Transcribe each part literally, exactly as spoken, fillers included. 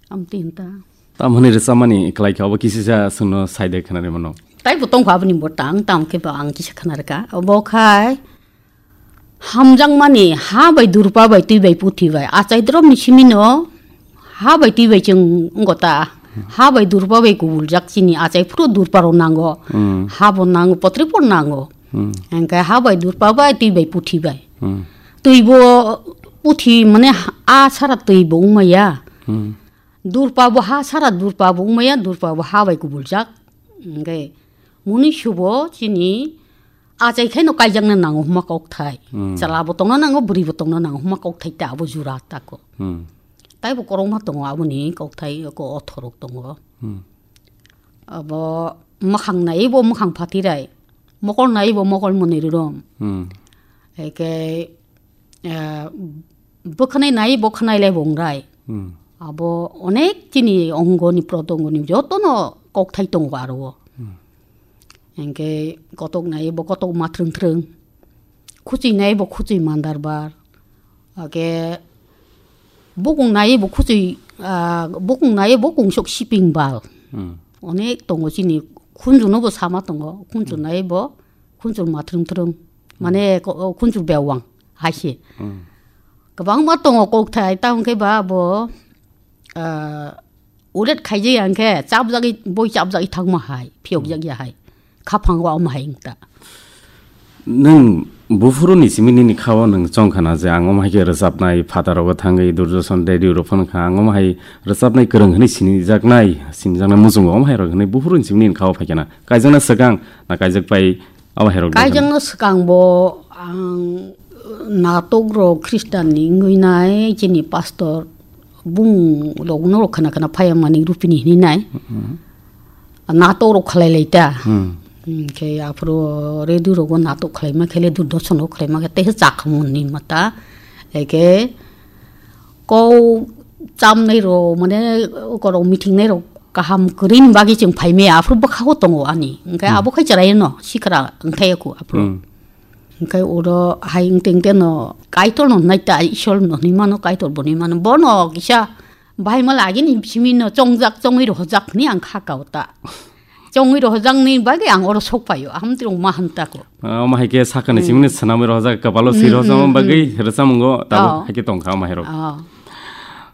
Amtwi hinta. Tamoni rwchapmani kwlai kha, obo kisisa chwngno saide khwnarwi mano. Taibo tongkha aboni bo tang, tang khe bo ang kisa khwnarwkha. Obo khai hamjakmani ha bai durpa bai twi bai puthi bai. Achai dromni simino ha bai twi bai chwng wngkha ta. Ha bai durpa bai kubuljak chini achai phuru durpa rok nango. Hmm. Ha bo nango, potri bo nango. Hmm. Hingkhe ha bai durpa bai twi bai puthi bai. Hmm. Twi bo puthi mane ha-, a sara twi bo wngmaya. Hmm. Durpa bo ha sara durpa bo wngmaya, durpa bo ha bai kubuljak. Hingkhe muni subo chini achai khaino kaijakna nango hwnma kokthai. Hmm. Chwla bo tongna nango, bwrwi bo tongna nango hwnma kokthai ta abo jura tako. Hmm. Taibo kwrwngma tongo aboni kokthai ko othorok tongo. Hmm. Abo mwkhang naiwi bo mwkhang phatirai, mokol naiwi bo mokol mwnwi rwrwm. Hmm. Eke, eh, bwkhwnai naiwi bo khwnai lai bo wngrai. Hmm. Abo onek chini ongoni protongoni jotono kokthai tongo aro o. Hmm. Hingke kotok naiwi bo kotok ma thrwng thrwng. Khuchwi naiwi bo khuchwi mandar bar. Ake bukung naiwi bo khuchwi, ah, bukung naiwi bo kungsuk siping bal. Hmm. Onek tongo chini khunjuno bo sama tongo. Khunju Hmm. naiwi bo khunju ma thrwng thrwng. Hmm. Mane ko-, o khunju bewang hai se. Hmm. Kwbangma tongo kokthai, tamo khe ba bo, ah, ulet khaijak ya hwnkhe chapjagwi, boi chapjagwi thangma hai, phiyokjak ya hai. Khaphango omo hai wngta. Nwng buphuru ni simi nini khao nwng chong khana je ang omo hai khe rwchapnai, phataro thangwi Durjoson radio rok phano kha, ang omo hai rwchapnai kwrwng hwnwi sinijaknai, sinijaknai muchungo omo hai rok hwnwi buphuru ni simi nini khao phai khana. Kaijakna swkang na kaijak pai Abo hai rok Kaijakno swkang bo ang natok rok Khristan ni wngwi nai chini pastor bung rok no rok khana khana phai mani Rupini hini nai. Mhm. Natok rok khlai lai ta. Hmm. Hwnkhe aphuru radio rogo natok khlai ma khele Durdoson rok khlai ma khe tei chakhamung ni mata. Eke Kok chamnai rok, mane, korok meeting nai rok kaham kwrwi ni bagwi chwng phai maya, aphuru bwkha o tongo ani. Hwnkhe Hmm. abo khai chwrai no sikra wngthai ya kho aphuru. Hmm. Hwnkhe oro hai wngte wngte no Kaitor no nai ta, Ishwar no hinwi mano, Kaitor bo hinwi mano. Bono kisa bahai ma lagi ni simi no chongjak, chongwi rohorjak hinwi ang kha kao ta. Chongwi rohorjakni bagwi ang oro sok paio, ahamtwi rok ma hamtako. Ah, omo hai khe sakani Hmm. simi ni swnamwi rohorjak, kapalo swi Hmm, rohorjakma hmm, bagwi hmm. rwchapmungo tabuk Oh. hai khe tongkha omo hai rok. Oh.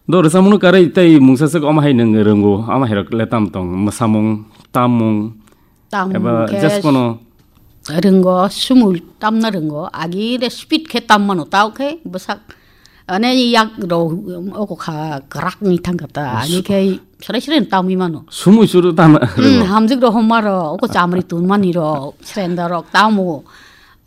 Do rwchapmung no karwi tei mungsa swk omo hai nwng rwngo, omo hai rok le tam tong, mwsamung, tammung, Tam eba khe just kono rwngo, sumui tamna rwngo, agi re speed khe tam mano, tao khe bwsak, ane yak rok oko kha kwrak ni thang kha ta, Su- ani khe Srai srai tamwi mano. Sumui suru tama Hmm, rwngo. Hamjik rok homa rok, oko chamri tun mani rok, srenda rok tamo.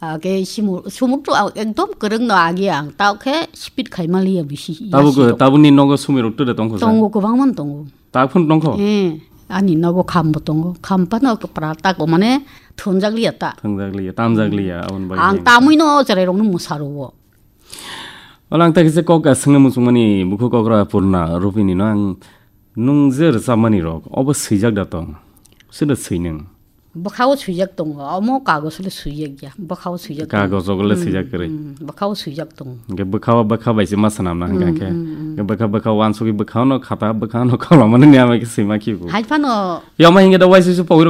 Ake simu-, sumuk tu ekdom kwrwng no agi ang. Tao khe speed khai maliya bisi. Tabuk, yasi rok. Tabukni nogo sumui rok tere tongkho sa? Tongo, kwbang man tongo. Tak phun tongkho? Eh, ani nogo kham bo tongo. Kham phano pra tako mane thunjak liya ta. Thunjak liya, tamjak liya, aboni bagwi Ang hwnkhe. Tamwi no cherai rok no mwsa rwo. Ola ang ta kisa kok swngna muchungmani bukhuk okra Purna Rupini no ang nung je rwchapmani rok obo swijak da tong? Sida swi nung? Bwkhao swijak tongo, omo kagos le swijak ya, bwkhao swijak tongo. Kagos rok le Hmm, swijak kwrwi. Hmm, bwkhao swijak tongo. Hwnkhe bwkhao bwkha bai se ma swnamna hwnkhe Hmm, hwnkhe. Hmm, hmm. Hwnkhe bwkha bwkha wansugwi bwkhao no khata bwkhao no kolomani ni ama khe swima khibu. Hai phano Yama hwnkhe da waisa se pogwi